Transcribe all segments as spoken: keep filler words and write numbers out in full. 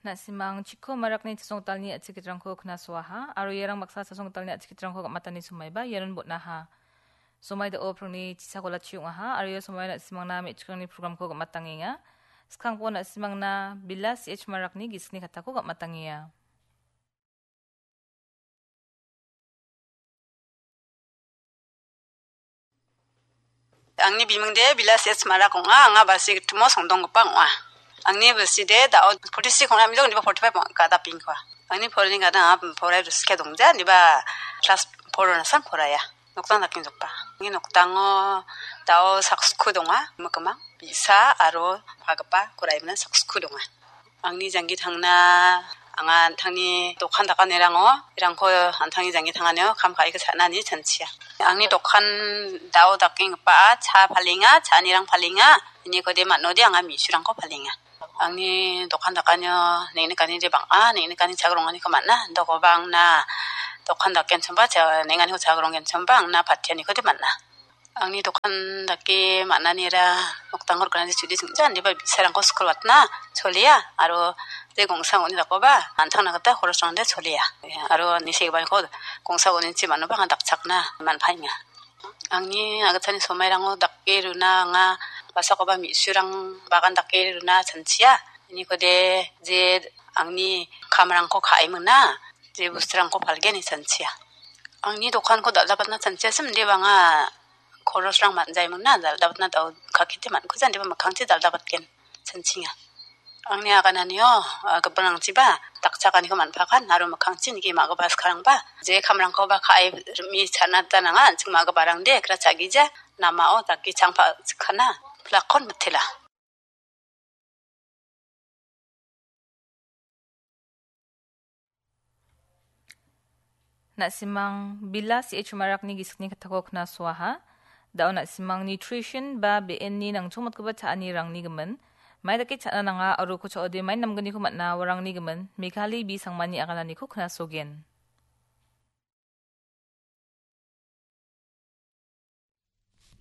Na·simang chiko marakni chasongtalni a·chikitrangko knasoaha, aro iarang baksa chasongtalni a·chikitrangko gam·atani somaiba ianon botnaha. Somai da·o prongni chisakola chiong·aha, aro ia somai na·simangna me·chikrangni programko gam·atangenga. Skangpo na·simangna Bila C H Marakni gisikni katako gam·atangenga. Angni bimingde Bila C H Marak ong·a, anga Balsi gitimo songdonggipa ong·a. Angni bilside da·o forty-six ong·a, indiba forty-five ong·a, gada pingkua. Angni porani gada anga porai ruske dongja, indiba class four nasan poraia. Noktang dakenggipa. Angni noktango da·o sakskoo donga, mikimang, bi·sa aro pagipa koraimna sakskoo donga. Angni janggi tangna, anga an·tangni dokan dakanirango, irangko an·tangni janggi tanganio kam ka·iko cha·nani chanchia. Angni dokan da·o dakenggipa cha palenga, cha·anirang palenga, inikode man·ode anga me·surangko palenga. Angni dokan dakanio neng·nikani de bang·a, neng·nikani chagrongani ko man·a, dokoba angna dokan dakenchimba, cha-, neng·aniko chagronggenchimba angna patianiko de man·a. Angni dokan dake man·anira nokdango rikna de chudi chingja, indiba bi·sarangko skul watna cholia, aro de gongsa ong·oni dakoba an·tangna gita horosrangde cholia. Aro nisegiparangko gongsa ong·onichi man·oba anga dakchakna man·paenga. Angni agitani somairango dake runa anga basakoba me·surang bagan dake runa chanchia. Inikode je angni kamrangko ka·e mingna, je bosturangko palgen ine chanchia. Angni dokanko dal·dabatna chanchiasim, indiba anga korosrang man·jae mingna, dal·dabatna dao kakete man·kuja, indiba mikkangchi dal·dabatgen. Chanchinga. Angni agananio, ah, gipinrangchiba dakchakaniko man·pakan aro mikkangchi nike ma·gipa skarangba je kamrangkoba ka·e rim·e cha·na gita nanga, an·ching ma·giparangde ekra cha·gija, namao dake changpa chikkana, pilakkon mitela. Na·simang Bila C H Marakni gisikni katako knasoaha. Da·o na·simang nutrition ba be·enni nangchongmotgipa cha·anirangni gimin, mai dake cha·na nanga aro uko cha·ode mai namgniko man·a, uarangni gimin Meghali B Sangmani agananiko knasogen.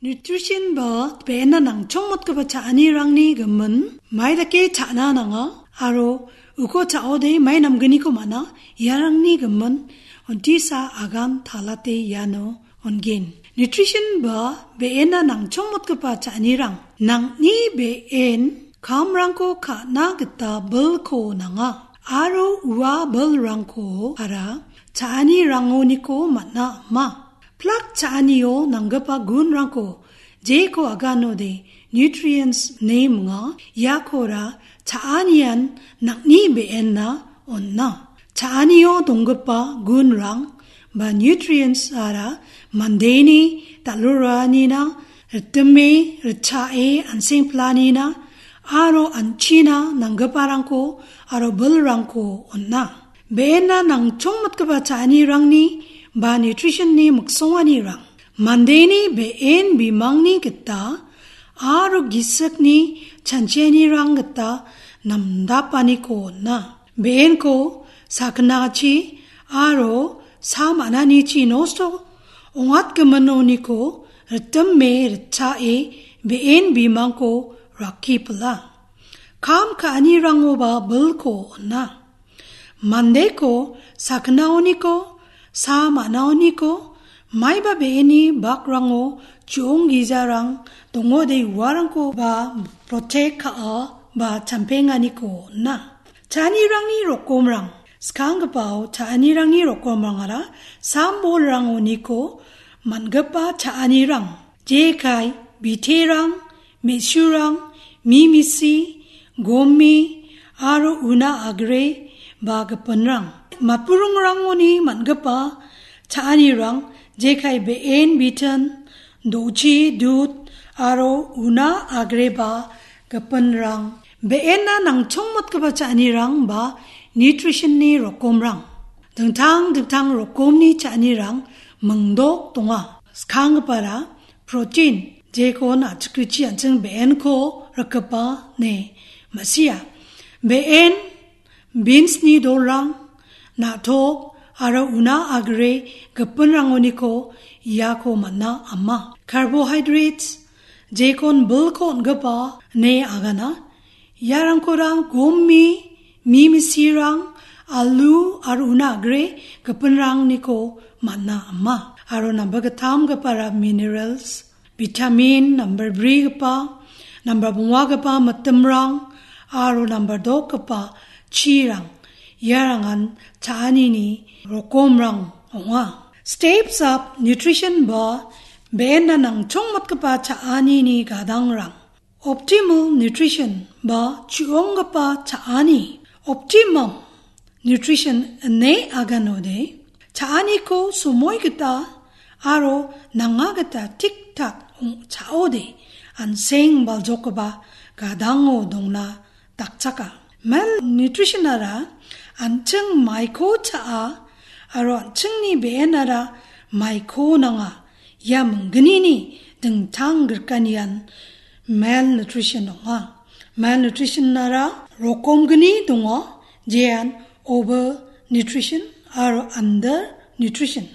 Nutrition ba be·enna nangchongmotgipa cha·anirangni gimin, mai dake cha·na nanga aro uko cha·ode mai namgniko man·a, iarangni gimin Ontisa Agan Talate iano on·gen. Nutrition ba be·enna nangchongmotgipa cha·anirang, nang·ni be·en kamrangko ka·na gita bilko nanga aro ua bilrangko ara cha·anirangoniko man·a ama. Plak cha·anio nanggipa gunrangko jeko aganode nutrients ine minga, iakora cha·anian nang·ni be·enna on·a. Cha·anio donggipa gunrang ba nutrients ara mandeni dal·roanina ritime ritchae an·seng planina aro an·china nanggiparangko aro bilrangko on·a. Be·enna nangchongmotgipa cha·anirangni ba nutrition-ni miksonganirang mandeni be·en bimangni gita aro gisikni chanchianirang gita namdapaniko on·a. Be·enko sakgnachi aro sa man·anichi nosto ong·atgiminoniko ritime ritchae be·en bimangko rakki pila. Kam ka·anirangoba bilko on·a. Mandeko sakgnaoniko, sa man·aoniko, maiba be·eni bakrango chu·ong gijarang dongode uarangkoba protect ka·a ba champenganiko on·a. Cha·anirangni rokomrang, skanggipao cha·anirangni rokomrangara sam-bolrangoniko man·gipa cha·anirang, jekai biterang, me·surang, mimisi, gomi, aro una agre ba gipinrang. Matburingrangoni man·gipa cha·anirang jekai be·en bitin, do·chi, dud, aro una agreba gipinrang. Be·enna nangchongmotgipa cha·anirang ba nutrition-ni rokomrang. Dingtang dingtang rokomni cha·anirang mingdok donga. Skanggipara protein, jekon a·chikrichi an·ching be·enko rikgipa ine ma·sia. Be·en, beans-ni dolrang, na·tok aro una agre gipinrangoniko iako man·a ama. Carbohydrates, jekon bilko on·gipa ine agana. Iarangkorang gomi, mi misirang, alu aro una agre gipinrangniko man·a ama. Aro namba gittamgipara minerals, vitamin, nambar brigipa, nambar bongwagipa mitimrang, aro nambar dokgipa chirang. Iarangan cha·anini rokomrang ong·a. Steps up nutrition ba be·enna nangchongmatgipa cha·anini gadangrang. Optimal nutrition ba chu·onggipa cha·ani. Optimum nutrition ine aganode, cha·aniko somoi gita aro nanga gita tik-tak ong-, cha·ode, an·seng baljokgipa gadango dongna dakchaka. Malnutritionara an·ching maiko cha·a aro an·chingni be·enara maiko nanga. Ia minggnini dingtang grikanian malnutrition ong·a. Malnutritionara rokom gni donga, jean overnutrition aro undernutrition.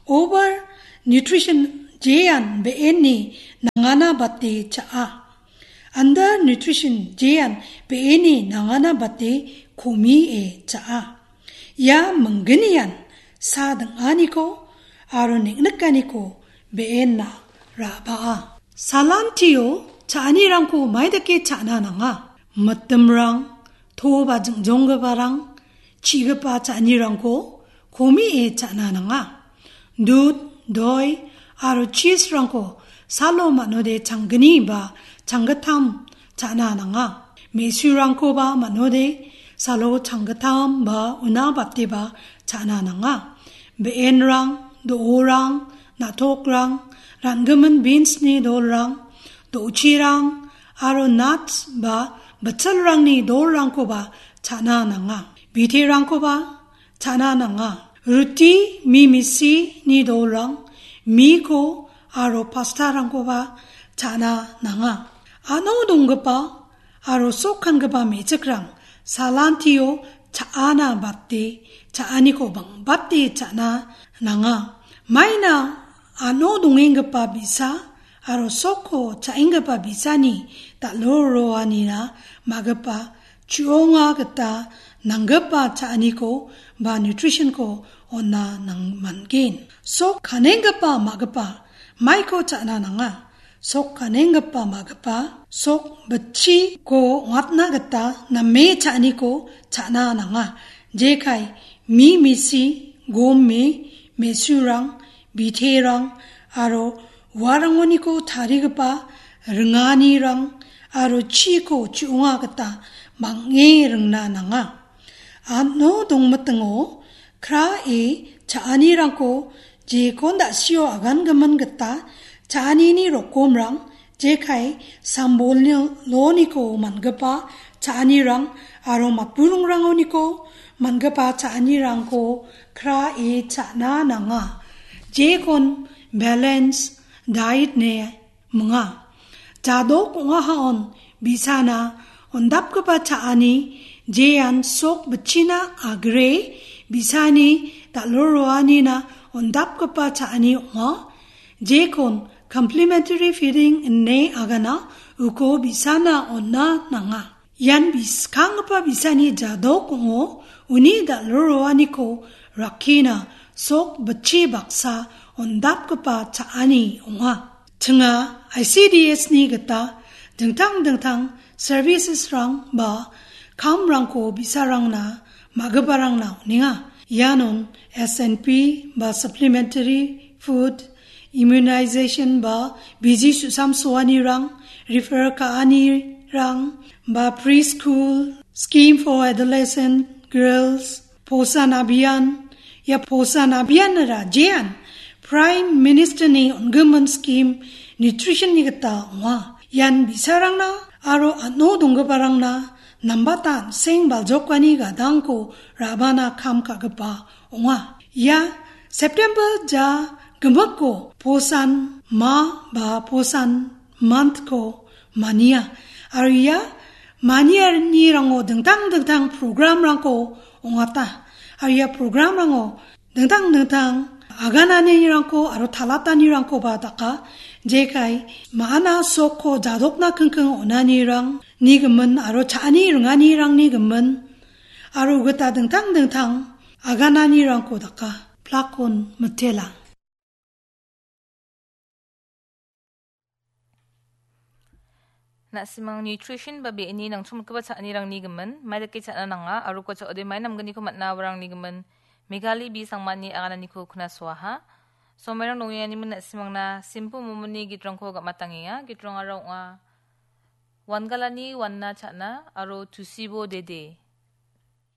Overnutrition jean be·enni nangana bate cha·a. Undernutrition jean be·eni nangana bate komie cha·a. Ia minggnian sa ding·aniko aro neng·nikaniko be·enna ra·baa. Salantio cha·anirangko maidake cha·na nanga? Mitimrang, to ba jingjonggiparang, chigipa cha·anirangko komie cha·na nanga. Dud, doi aro chisrangko salo man·ode changgni ba changgittam cha·na nanga. Me·surangkoba man·ode salo changgittam ba una bateba cha·na nanga. Be·enrang, do·orang, na·tokrang, ran·gimin beansni dolrang, do·chirang aro nuts ba bitsilrangni dolrangkoba cha·na nanga. Biterangkoba cha·na nanga. Ruti, mi misini dolrang, miko aro pastarangkoba cha·na nanga. Ano donggipa aro sok kangipa me·chikrang salantio cha·ana bate, cha·aniko bangbate cha·na nanga. Maina ano dongenggipa bi·sa aro sokko cha·enggipa bi·sani dal·o roanina ma·gipa chu·onga gita nanggipa cha·aniko ba nutritionko on·na nang-, man·gen. Sok kanenggipa ma·gipa maiko cha·na nanga. Sok kanenggipa ma·gipa, sok bitchiko ong·atna gita name cha·aniko cha·na nanga. Jekai mi misi, gome, me·surang, biterang aro uarangoniko tarigipa ringanirang aro chiko chu·onga gita bang·e ringna nanga. Ano dongmitingo krae cha·anirangko jekon da·sio agangimin gita cha·anini rokomrang jekai sambolni loniko man·gipa cha·anirang aro matburingrangoniko man·gipa cha·anirangko krae cha·na nanga. Jekon balance diet ine minga. Jadok ong·ahaon bi·sana on·dapgipa cha·ani jean sok bitchina agre bi·sani dal·o roanina on·dapgipa cha·ani ong·a. Jekon complementary feeding ine agana uko bi·sana on·na nanga. Ian bi-, skanggipa bi·sani jadok ong·o, uni dal·o roaniko rakkina sok bitchi baksa on·dapgipa cha·ani ong·a. Chinga I C D S ni gita dingtang dingtang services-rang ba kamrangko bi·sarangna ma·giparangna on·enga. Ianon S N P ba supplementary food, immunization ba bigi su·samsoanirang, refer ka·anirang ba preschool, scheme for adolescent girls, Posan Abhiyan, ia Posan Abhiyan-ra jean Prime Minister-ni on·gimin scheme nutrition-ni gita ong·a. Ian bi·sarangna aro ano donggiparangna nambata an·seng baljokani gadangko ra·bana kam ka·gipa ong·a. Ia September ja gimikko Posan Ma ba Posan Month-ko mania. Aro ia manianirango dingtang dingtang program-rangko ong·ata. Aro ia program-rango dingtang dingtang agananirangko aro talatanirangkoba daka. Jekai ma·ana sokko jadokna kingking on·anirangni gimin aro cha·ani ringanirangni gimin aro gita dingtang dingtang agananirangko daka plakon mitela. Na·simang nutrition ba be·eni nangchongmotgipa cha·anirangni gimin, mai dake cha·na nanga, aro uko cha·ode mai namgniko man·a awarangni gimin, Megali B Sangmani agananiko knasoaha. Somairang dongenganimin na·simangna simple momoni gitrangko gam·atangenga. Gitrangara ong·a Wangalani Wanna Cha·na aro Tusibo Dede.